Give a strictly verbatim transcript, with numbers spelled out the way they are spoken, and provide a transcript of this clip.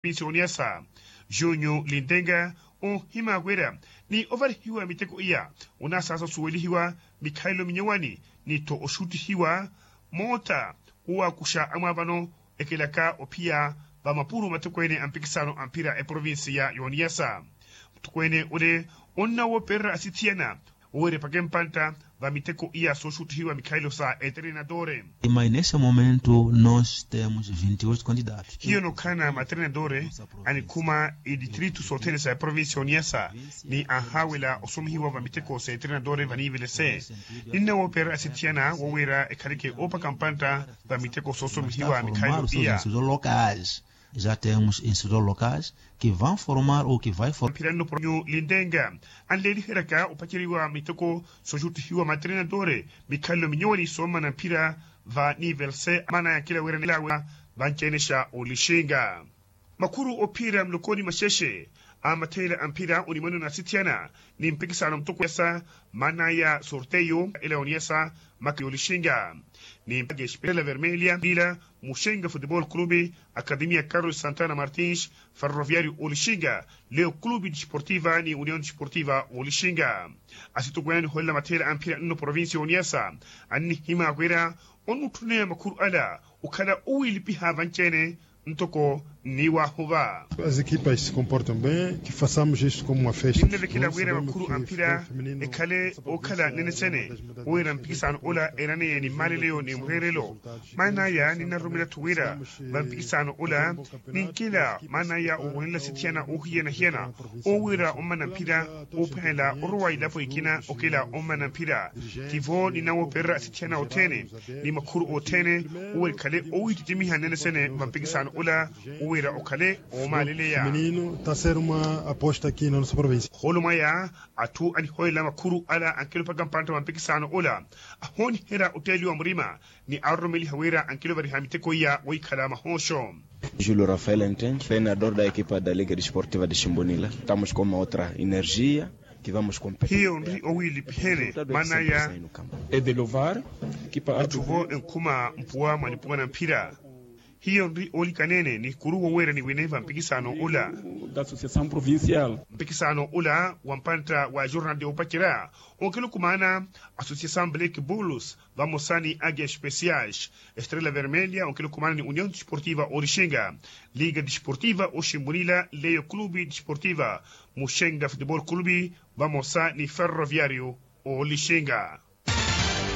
provincia oniyasa junyu lintenga, onhima wira ni ovarihiwa miteko iya onasaasa osuwelihiwa mikhalelo minyowani ni-tho oxuttihiwa moota owakuxa amwaavano ekelaka ophiya vamapuro matokweene a mpikisano a mphira eprovincia y'oniyasa. Mutokweene ole onnawoopererya asithiyana woweerya epaka empantta va miteko iya sooxuttihiwa mikhalelo sa etrenadore. Mas nesse momento nós temos vinte e oito candidatos. Hiyo nookhalana matrenadore anikhuma editritu sothene sa eprovincia oniyasa ni anhaawela osomihiwa va miteko sa etrenadore vaniivele se ninnawoopererya asithiyana woweerya ekhaleke oopaka mpantta va miteko soosomihiwa mikhalelo iya. Institutos locais, já temos institutos locais que vão formar ou que vai formar. Mphira nno provincio lintenga anleeliheryaka opaceriwa miteko sooxuttihiwa matrenadore mikhalelo minyowani soomana mphira va nivel se maana ya nkila wira nilawe vanci-ene xa olixinga. Makhuru ophiira mulokoni maxexe a matheela a mphira onimwano na asithiyana ni mpikisano mutoko yasa maana ya sorteyo ela oniyasa maka y'olixinga ni mpaka espirela vermelha lila muxenga futebol clube, academia carlos santana martins, ferroviario olixinga, leo clube desportiva ni union desportiva olixinga. Asitokweene aniholela matheela a mphira nno provincia oniyasa annihima wira onnutthuneya makhuru ala okhala owilipiha vanci-ene ntoko nniwahuva. As equipas se comportam bem, que façamos isto como uma festa. Ninnavekela wira makhuru a mphira ekhale okhala nene sene wira mpikisano ola eraneye ni mmaleleyo ni mureerelo. Maan'aya ninnaroromela-tho wira va mpikisano ola ninkela maan'aya owonelela sithiyana oohiyana-hiyana owiira ommana mphira oophanelela orowa ilapo ikina okela ommana mphira. Tivo ninnawoopererya asithiyana othene ni makhuru othene owiira ekhale owiitittimiha nene sene va mpikisano ola owiira okhale oomaaleleya. Menino taseruma aposta kina nosa provincia. Holo mwaya atthu aniholela makhuru ala ankilopaka mpantta va mpikisano ola ahooniherya otteeliwa murima ni aroromeliha wira ankilopariha miteko iya wohikhala mahooxo. Julio rafael enten treinador da equipa da liga desportiva de ximbunila. Estamos com uma outra energia. Hiyo nri owiilipihene maan'aya. Edelovar. Atthu vo enkhuma mpuwa mwa nipuwa na mphira. Hiyo nri oolikaneene ni kuru woweera niwine va mpikisano ola. Mpikisano ola wa mpantta wa jornal de opacerya onkela okumaana associação black bulls vamosa ni agia especiais estrela vermelha onkela okumaana ni union desportiva olixinga, liga desportiva oximbunila leyo clube desportiva, muxenga futebol clube vamosa ni ferroviario olixinga.